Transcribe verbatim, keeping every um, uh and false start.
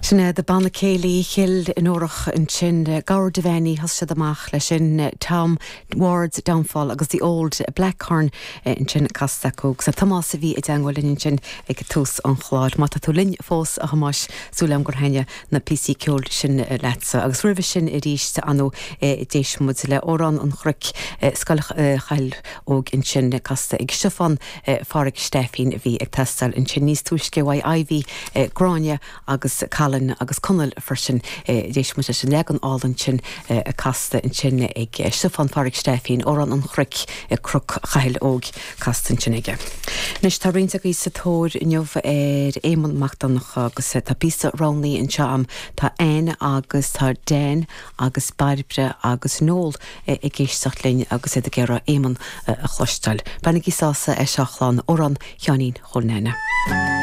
Sin é de banna céilí Chill Fhionnúrach ansin Gabhar Devaney thosaigh siad amach leis sin Tom Ward's Downfall agus the Old Blackhorn ansin casta acu agus Tomás a bhí i dteagmháil linn ansin ag tús an chláir. Má tá tú linn fós a Thomáis súil agam gur thaitin na píosaí ceoil sin leatsa agus roimhe sin arís anu d'éist muid le Amhrán an Chnoic Scoil Chathail Óig ansin casta ag Stiofán Phádraig Stefín a bhí ag teastáil ansin níos túisce uaidh Ivy Gráinne agus Colin agus Conall freisin d'éist muid leis an leagan álainn sin a casta ansin ag Stiofán Phádraig Stefín Amhrán an Chnoic Cnoc Chathail Óig casta ansin aige. Anois tá roinnt agaibh sa tóir inniu ar Éamonn Mac Donncha agus tá píosa roghnaithe anseo agam tá Ann agus tá Dan agus Bairbre agus Noel ag éisteacht linn agus iad ag iarraidh Éamonn a chloisteáil. Bainigí sásamh as seo a chlann Amhrán Sheáinín Chóil Nana.